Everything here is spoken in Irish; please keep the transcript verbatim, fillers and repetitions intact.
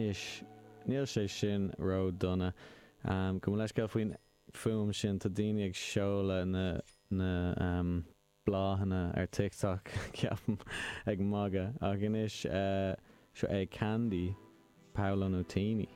Anois, níl sé sin ró-dona. Um, go leisceil faoin fuaim sin tá daoine ag seoladh na na um, bláthanna ar TikTok ceapaim ag magadh ach anois uh, seo é Candy Paolo Nutini.